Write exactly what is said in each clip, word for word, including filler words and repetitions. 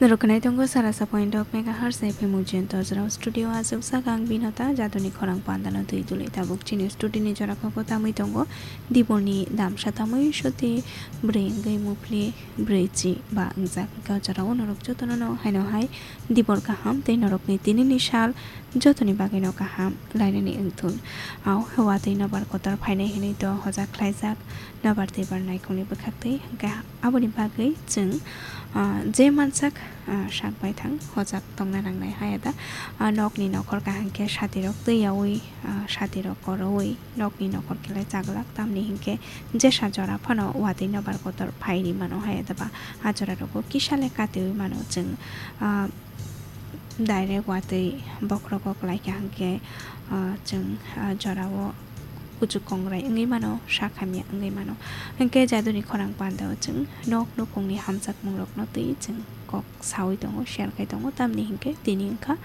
Rwknai tongo sara sa point dok megahertz F M Ujiyanta Ojrao studio, aswk sak ang Binota, jadoni khorang pandano twi tuli tabuk chini studio ni jora kok tamwi tongo. Diborni damsa tamwi soti bwrwi wngwi muphli bwrwi chi ba wngjak, hwnkhe o jorao norok jotono no haino hai dibor kaham tei norokni tinini sal jotoni bagwino kaham lainani wngthun. Au watwi nobar kotor phainai hinwi to hojak khlaijak nobar twibar naikolni bwkhaktwi, hwnkhe aboni bagwi chwng, ah, je mansak, ah, sak baithang hojak tongna nangnai. Haya da, ah, nokni nokhor kaham khe satirok twiyaui, ah, satirok koroui nokni nokhor khe lai chaglak, tamni hinkhe jesa jora phano watwi nobar kotor phai ri mano. Haya da ba a jora rogo kisa le katiui mano chwng, ah, direct watwi bokhrogo kwlai kha hinkhe, ah, chwng, ah, jorao kuchuk kongrai wngwi mano, sak hamya wngwi mano. Hinkhe jadoni khorang pandao chwng nok nukhungni hamjakmungrokno twi chwng kok saui tongo, share khai tongo, tamni hinkhe tini wngkha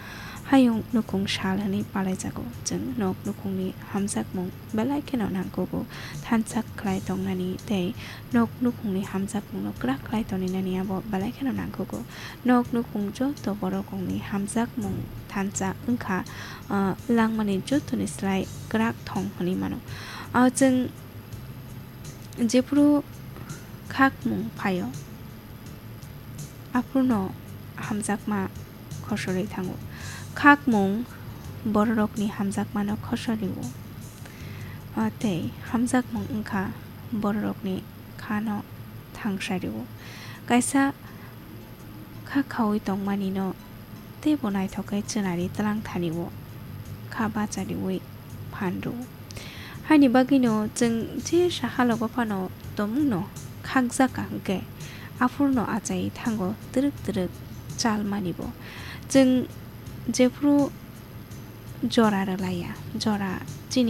hayung nukhung sal hwnwi palaijago. Chwng nok nukhungni hamjakmung belai kheno nangkugo, thansa khlai tongnani tei nok nukhungni hamjakmungno kwrak khlai toninani abo belai kheno nangkugo. Nok nukhung joto borok rokni hamjakmung thansa wngkha, ah, langmani jotoni slai kwrak thong hwnwi mano. Ah, chwng jephuru khakmung phaio, aphurno hamjakma khosorwi thango. Khakmung bororokni hamjakmano khosorwi-o, ah, tei hamjakmung wngkha bororokni khano thangsari-o. Kaisa kha khaui tongmani no teibo naithok khe chwnari twlang thani o kha bachariui phan rw. Haini bagwino chwng je sahalogo phano tongmungno khakjak ka hwnkhe aphurno achai thango twrwk twrwk chalmani bo. Chwng jephru jora rwlaiya, jora chini